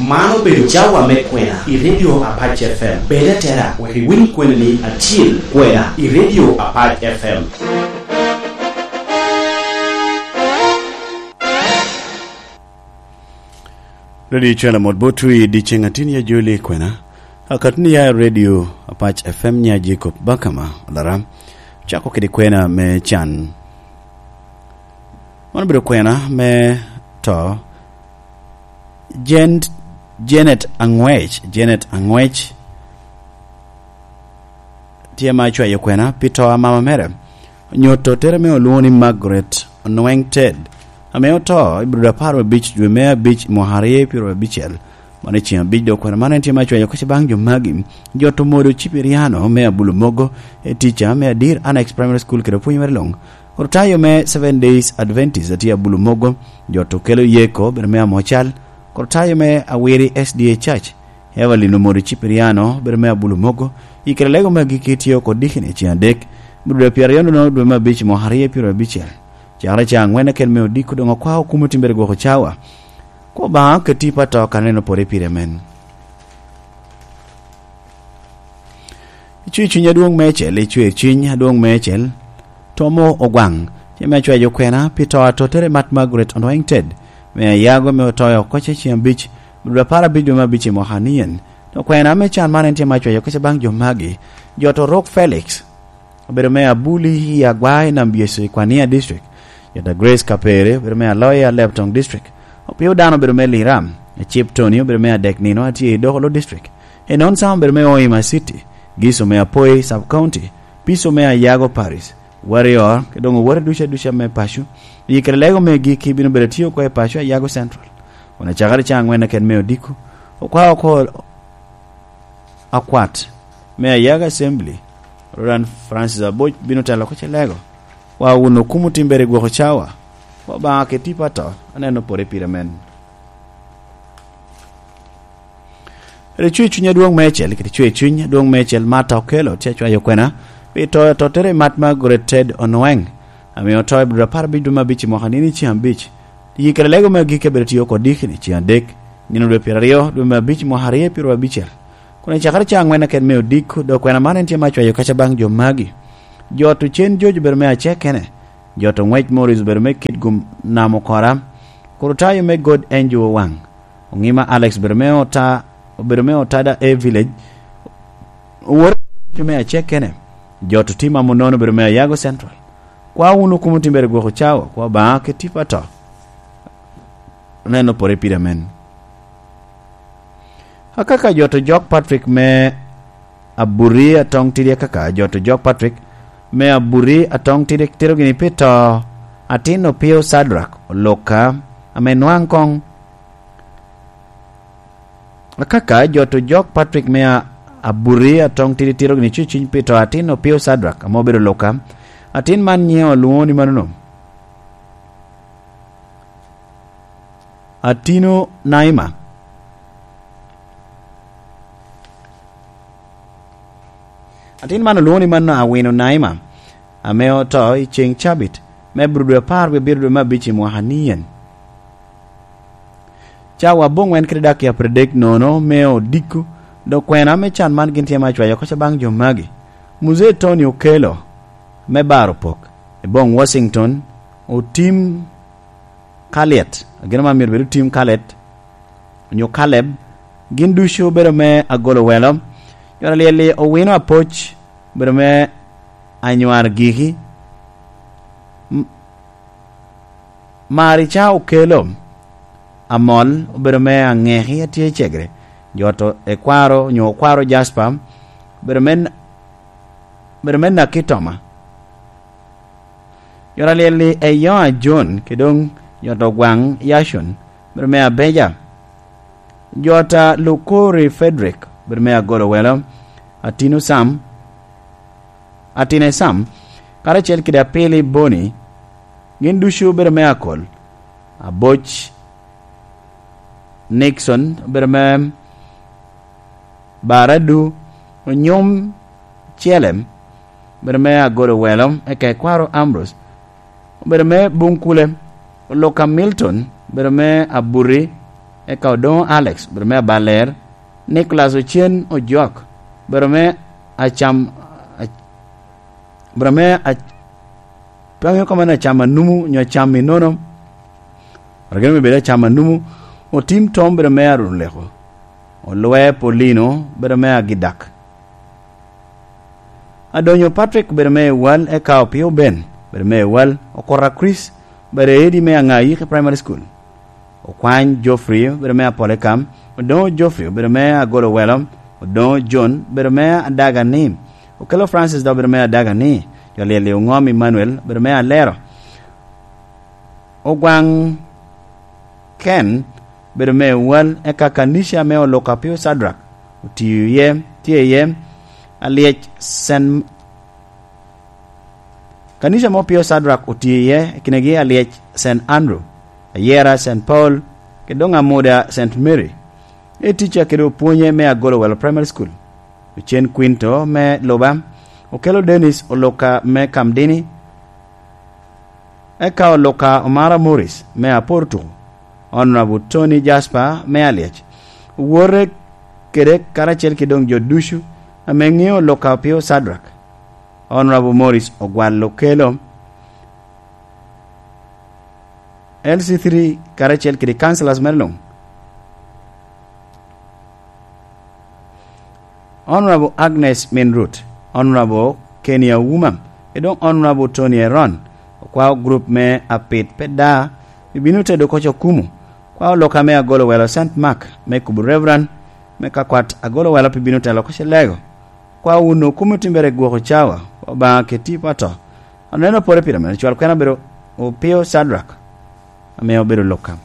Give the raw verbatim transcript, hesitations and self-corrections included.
Man obedo cawa me kwena i Radio Apac F M. Bed atera wek iwiny kwenani acil, kwena i Radio Apac F M. Radio Cwela mot botwu i dyeceŋ atin ya joli kwena. Akatni ya Radio Apac F M nya Jacob Bakama Olara. Cako kede kwena me can. Man obedo kwena me to Jen-, Janet Angwec, Janet Angwec tye ma cwayo kwena pi to a mama mere. Onyo tottere me olwoŋo ni Margaret Onweng Ted, ame oto i Abril apar abic dwe me abic mwaka aryo pyero abicel. Mano i ceŋ abic dok kwena man en tye ma cwayo kec baŋ jo magi. Jot omodo Cipiriano me Abulu Mogo, e tica me Adir Annex Primary School kede opwony mere luŋ. Kortayo me Seven Days Adventist atye Abulu Mogo, jot okelo Yeko, bedo me Amocal. Kortayo me Awiri S D A Church, Evelyn Omori Cipriano, bedo me Abulu Mogo, i kare lego me agikki tye oko dikini ceŋ adek, Abril pyeraryo nono dwe me abic mwaka aryo pyero abicel. Cakere ca angwen akel me odiko doŋ okwa okumo timbere gwoko cawa. Kwo Obaŋa oket tipo ato ka neno pore pire men. Icwe cuny adwoŋ meicel, icwe cuny adwoŋ meicel, Tomo Ogwaŋ, tye me acwayo kwena pi to a tottere Mat Margaret Onweng Ted, me ayago me otoyo oko ceŋ abic, Abril apar abic dwe me abic i mwaka nien. To kwena me can man en tye me acwayo kec baŋ jo magi, jot Orok Felix, obedo me Abuli i Agwa i Nam Byecu i Kwania District, jot a Grace Kapere, obedo me Aloya Lebtong District, Opio Dano, obedo me Liram, Acip Tony, obedo me adek nino atye i Dokolo District, Enon Sam, obedo me Hoima City, Giso me Apoi Sub County, Piso me Ayago Paris, Warrior, kede doŋ owote ducu aduca me paco. I kare lego me gikki bino bedo atye oko i paco Ayago Central. Kun acakere ca angwen aket me odiko, okwa oko akwat me Ayago Assembly, Reverend Francis Aboc bino telo oko ce lego. Wa wun okumo timbere gwoko cawa, wa Obaŋa ket tipo ato, aneno pore pire men. Ri cwe cuny adwoŋ meicel, kede cwe cuny adwoŋ meicel ma ata okelo, tye acwayo kwena pi to, tottere Mat Margaret Ted Onweng, ame oto i Abril apar abic dwe me abic i mwaka nino i ceŋ abic. Yi kede lego me agikki abedo tye oko dikini ceŋ adek, nino dwe pyeraryo dwe me abic mwaka aryo pyero abicel. Kun acakere ca angwen aket me odiko, dok kwena man en tye me acwayo kec baŋ jo magi. Jot Ocen Jojo, obedo me Acekene, jot Oŋwec Morris, obedo me Kitgum Nam Okora, Kurutayo me God Angel Owaŋ, Oŋima Alex, obedo me Ota-, obedo me Otada A Village, Owor me Acekene, jot Otima Munono, obedo me Ayago Central. Kwa wun okumo timbere gwoko cawa, kwa Obaŋa ket tipo ato, oneno pore pire men. Akaka jot Ojok Patrick me Aburi Atong Tidi, akaka jot Ojok Patrick me Aburi Atong Tidi tito gini pi to atin Opio Sadrak Oluka, ame nwaŋ koŋ. Akaka jot Ojok Patrick me a-, Aburi Atong Tidi tito gini cuciny pi to atin Opio Sadrak, ame obedo Oluka. Atin man nyiŋe olwoŋo ni manono. Atino Naima. Atin man olwoŋo ni mano Awino Naima, ame oto i ceŋ cabit me Abril dwe apar wie abiro dwe me abic i mwaka nien. Cawa aboŋwen kede dakika apar adek nono me odiko, dok kwena me can man gin tye me acwayo kec baŋ jo magi. Muzee Tony Okello me Baro Pok, i boŋ Washington, Otim Kaliet, ageno man myero bed Otim Kaliet, onyo Kaleb, gin ducu obedo me Agolo Welo. Yot alyel-li Owino Apoc obedo me Anywar Giki. M-, Marica Okello Amol obedo me Aŋeki atye i Cegre. Jot Ekwaro onyo Okwaro Jasper obedo me N-, obedo me Nakitoma. Jot alyel-li Eyoa John, kede doŋ jot Ogwaŋ Yacon, bedo me Abeja. Jot a Lukori Frederick, bedo me Agolo Welo. Atino Sam, Atine Sam, karacel kede Apili Boni, gin ducu bedo me Akol. Aboc Nixon, bedo me Baradu, Onyom Cielem, obedo me Agolo Welo, eka Ekwaro Ambrose, obedo me Bunkule, Oluka Milton, obedo me Aburi, Eka Odoŋo Alex, bedo me Abaler, Nicholas Ocen Ojok, bedo me Acam, a-, bedo me a-, pe aŋeo kama ni Acam Anumu nyo Acam i nono. Ragene me bedo Acam Anumu, Otim Tom, bedo me Aruleko, Olwe Polino, bedo me Agidak. Adonyo Patrick, bedo me Ewal, eka Opio Ben, bedo me Ewal, Okora Chris, bedo Edi me Aŋayiki Primary School. Okwany Geoffrey, bedo me Apolekam, Odoŋo Geoffrey, bedo me Agolo Welo, Odoŋo John, bedo me Adaga ni, Okelo Francis dok bedo me Adaga ni, jo lyel i Oŋom Emmanuel, bedo me Alero. Ogwaŋ Ken, bedo me Ewal, eka kanica me Oluka Pio Sadrak otiyo iye, tye iye, Alyec Sen-, kanica mo Pio Sadrak otiyo iye, i kinegi Alyec Saint Andrew, Ayera Saint Paul, kede doŋ Amuda Saint Mary. Etica kede opwonye me Agolo Welo Primary School. Ocen Quinto me Luba, Okelo Dennis Oluka me Kamdini, eka Oluka Omara Morris me Aportuko, Honorable Tony Jasper me Alyec, owote kede karacel ki doŋ jo ducu ame ŋeo Oluka Pio Sadrak, Honorable Morris Ogwal Okelo, L C three karacel kede councillors mere luŋ. Honorable Agnes Minrut, Honorable Kenny Auma, kede doŋ Honorable Tony Eron, okwao group me Apit Peda, pi bino tedo koc okumu, kwao Oluka me Agolo Welo Saint Mark, me kubo Reverend, me kakwat Agolo Welo pi bino telo koc Elego, kwao wun okumu timbere gwoko cawa, Obaŋa keti pato. Aneno pore pire mere, cwal kwena bedo Opio Sadrak, ame obedo Oluka.